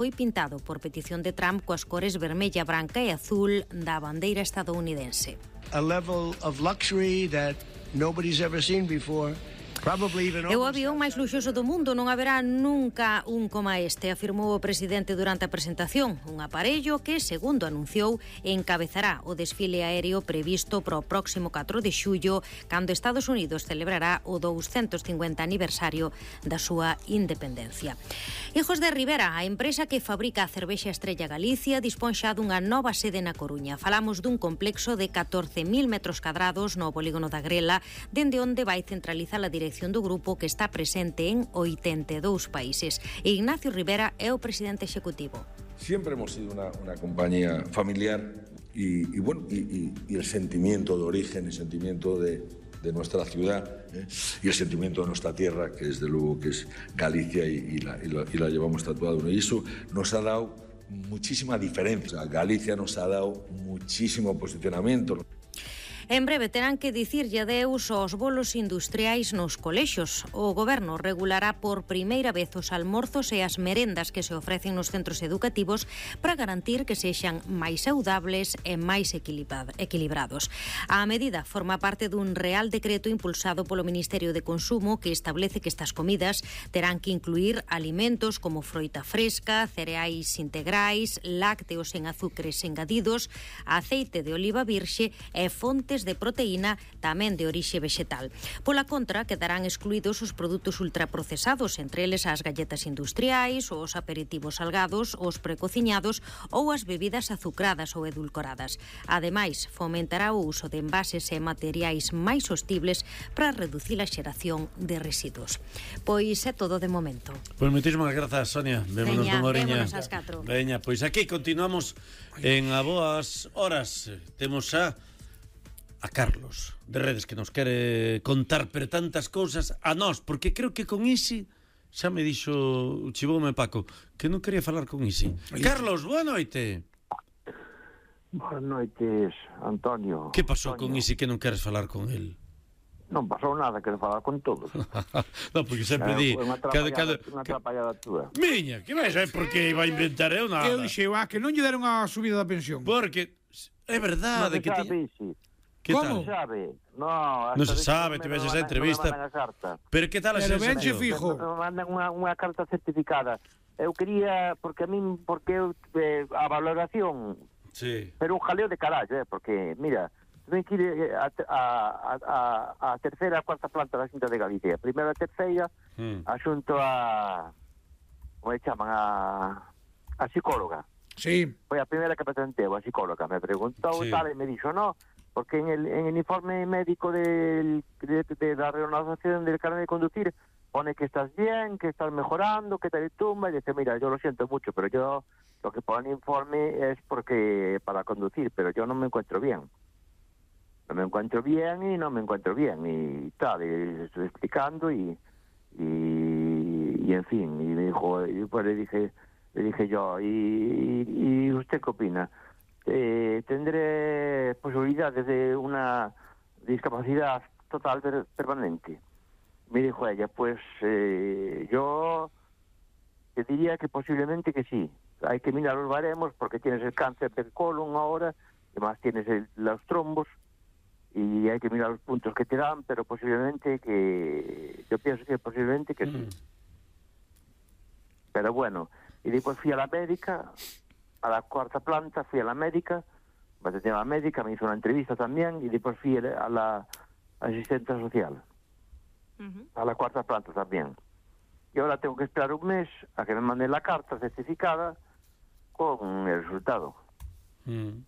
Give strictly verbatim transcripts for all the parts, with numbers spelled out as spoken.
foi pintado por petición de Trump coas cores vermella, branca e azul da bandeira estadounidense. A level of luxury that nobody's ever seen before. É o avión máis luxoso do mundo, non haberá nunca un coma este, afirmou o presidente durante a presentación. Un aparello que, segundo anunciou, encabezará o desfile aéreo previsto para o próximo catro de xullo, cando Estados Unidos celebrará o douscentos cincuenta aniversario da súa independencia. Hijos de Rivera, a empresa que fabrica a cervexa Estrella Galicia, dispón xa dunha nova sede na Coruña. Falamos dun complexo de catorce mil metros cadrados no polígono da Grela, dende onde vai centralizar a dirección do grupo que está presente en oitenta e dous países. Ignacio Rivera é o presidente executivo. Siempre hemos sido una, una compañía familiar y, y bueno, y, y, y el sentimiento de origen, el sentimiento de, de nuestra ciudad ¿eh? y el sentimiento de nuestra tierra, que desde luego que es Galicia y, y, la, y, la, y la llevamos tatuado, ¿no? Y eso nos ha dado muchísima diferencia. Galicia nos ha dado muchísimo posicionamiento. En breve terán que dicirlle adeus aos bolos industriais nos colexos. O Goberno regulará por primeira vez os almorzos e as merendas que se ofrecen nos centros educativos para garantir que sexan máis saudables e máis equilibrados. A medida forma parte dun Real Decreto impulsado polo Ministerio de Consumo que establece que estas comidas terán que incluir alimentos como froita fresca, cereais integrais, lácteos en azúcares engadidos, aceite de oliva virxe e fontes de proteína tamén de orixe vegetal. Pola contra, quedarán excluídos os produtos ultraprocesados, entre eles as galletas industriais, os aperitivos salgados, os precociñados ou as bebidas azucradas ou edulcoradas. Ademais, fomentará o uso de envases e materiais máis sostibles para reducir a xeración de residuos. Pois é todo de momento. Pois moitísimas grazas, Sonia. Vémonos dunha oriña. Vémonos ás catro. Veña, pois aquí continuamos en a boas horas. Temos a a Carlos de Redes que nos quere contar per tantas cousas a nós, porque creo que con Isi xa me dixo, chivoume Paco, que non quería falar con Isi. Carlos, boa noite. Boas noites, Antonio. Que pasou Antonio. con Isi que non queres falar con el? Non pasou nada, quero falar con todos. Non, porque sempre di Unha cada, cada, unha atrapallada túa. Miña, que vai saber por que iba a inventar eu nada. Eu dixei, ah, que non lle deron a subida da pensión. Porque é verdade Non que se ti... sabe, sí. Que Como? tal? Non se sabe. No, Non se sabe, te ves esa entrevista. Pero que tal a Pero venche sensación? fijo. Me mandan unha, unha carta certificada. Eu quería, porque a min, porque eu, eh, a valoración, Sí. pero un jaleo de carallo, eh, porque, mira, ten que ir eh, a, a, a, a terceira e a cuarta planta da Xunta de Galicia. Primeiro a terceira, Mm. a xunto a, como se chaman, a, a psicóloga. Sí. Foi a primeira que presenteu, a psicóloga. Me preguntou Sí. tal, e me dixo, no, porque en el, en el informe médico del, de, de la renovación del carnet de conducir pone que estás bien, que estás mejorando, que te tumba, y dice, mira, yo lo siento mucho, pero yo, lo que pone en el informe es porque para conducir, pero yo no me encuentro bien. No me encuentro bien y no me encuentro bien, y tal, y estoy explicando, y, y, y en fin, y me dijo, y pues le dije, le dije yo, ¿y, y, y usted qué opina? Eh, ¿Tendré posibilidades de una discapacidad total per permanente? Me dijo ella, pues eh, yo te diría que posiblemente que sí. Hay que mirar los baremos porque tienes el cáncer del colon ahora, además tienes el, los trombos, y hay que mirar los puntos que te dan, pero posiblemente que... Yo pienso que posiblemente que sí. Mm. Pero bueno, y después fui a la médica, a la cuarta planta, fui a la médica, me atendió a la médica, me hizo una entrevista también, y después fui a la asistente social, uh-huh. a la cuarta planta también. Y ahora tengo que esperar un mes a que me manden la carta certificada con el resultado. Mm.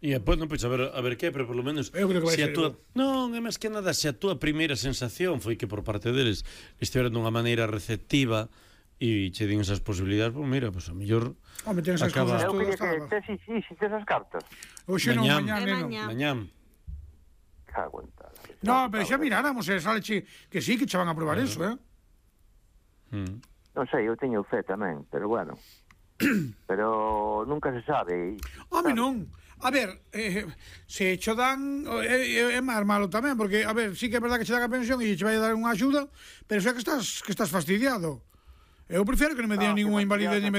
E depois non pois a ver, a ver que, pero polo menos Eu creo que vai se a ser túa... igual. Non, é máis que nada se a túa primeira sensación foi que por parte deles estiveran dunha maneira receptiva e che din esas posibilidades, pois mira, pois a mellor Home, ten esas acaba... cousas Eu quería todas, que estaba. te, sí, sí, esas cartas. Oxe non, Mañán. mañán, É neno. mañá. Mañán. Cago en tal. No, pero xa miráramos, eh, saleche que sí, que che van a probar eso, eh. Mm. Non sei, eu teño fe tamén, pero bueno. Pero nunca se sabe. Home, non. A ver, eh, se cho dan é, é máis malo tamén, porque a ver, sí que é verdad que che dan a pensión e che vai a dar unha axuda, pero xa que estás que estás fastidiado. Eu prefiro que non me digan Ah, ninguna que invalidez ni me